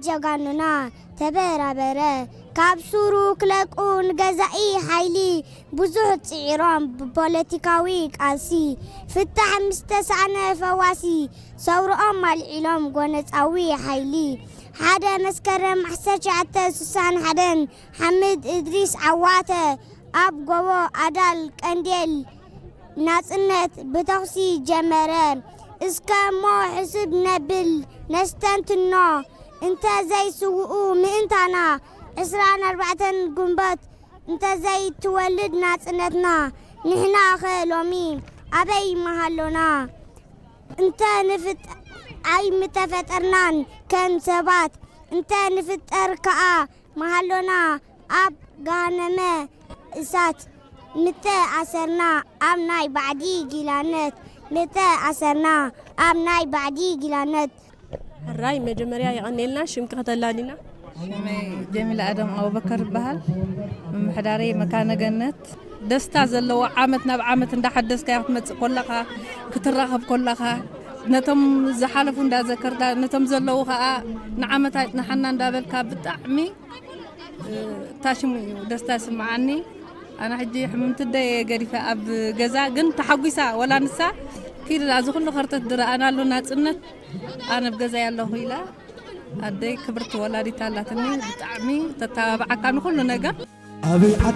ጀጋኑና ተበራበረ። ካብ ሱሩ ክለቁ ንገዛኢ ሓይሊ ብዙሕ ጽዒሮም፣ ብፖለቲካዊ ቃልሲ ፍታሕ ምስ ተሳእነ ፈዋሲ ሰውርኦም ኣልዒሎም ጎነጻዊ ሓይሊ። ሓደ መስከረም ዓሰርተ ትሽዓተ ስሳን ሓደን ሓምድ እድሪስ ዓዋተ ኣብ ጎቦ ኣዳል ቀንዴል ናጽነት ብተኹሲ ጀመረ። እስከ እሞ ሕስብ ነብል ነስተንትኖ፣ እንተ ዘይስውኡ ምእንታና፣ ዕስራን ኣርባዕተን ግንቦት እንተ ዘይትወልድ ናጽነትና፣ ንሕናኸ ሎሚ ኣበይ ምሃሎና? እንተ ንፍጥ ኣይምተፈጠርናን ከም ሰባት፣ እንተ ንፍጠር ከኣ ምሃሎና ኣብ ገሃነመ እሳት። ምተ ኣሰርና ኣብ ናይ ባዕዲ ጊላነት፣ ምተ ኣሰርና ኣብ ናይ ባዕዲ ጊላነት። ሕራይ መጀመርያ የቐኔልና። ሽምኪ ከተላሊና? ሽመይ ጀሚላ ኣደም ኣቡበከር ይበሃል። ምምሕዳረይ መካነ ገነት። ደስታ ዘለዎ ዓመት ናብ ዓመት እንዳሓደስካዮ ክትመጽእ ከለኻ፣ ክትራኸብ ከለኻ፣ ነቶም ዝሓለፉ እንዳዘከርካ፣ ነቶም ዘለዉ ኸኣ ንዓመት ኣጽንሓና እንዳበልካ ብጣዕሚ ታሽሙ እዩ ደስታ ይስምዓኒ። ኣነ ሕጂ ሕምምቲ ኣደይ ገዲፈ ኣብ ገዛ ግን ተሓጒሳ፣ ወላ ንሳ ኪድ እዚ ኩሉ ከርተት ዝረኣናሉ ናጽነት ኣነ ኣብ ገዛ ኣለኹ ኢላ። ኣደይ ክብርቲ ወላዲት ኣላትኒ፣ ብጣዕሚ ተተባብዓካ ንኹሉ ነገር። ኣበይ ዓዲ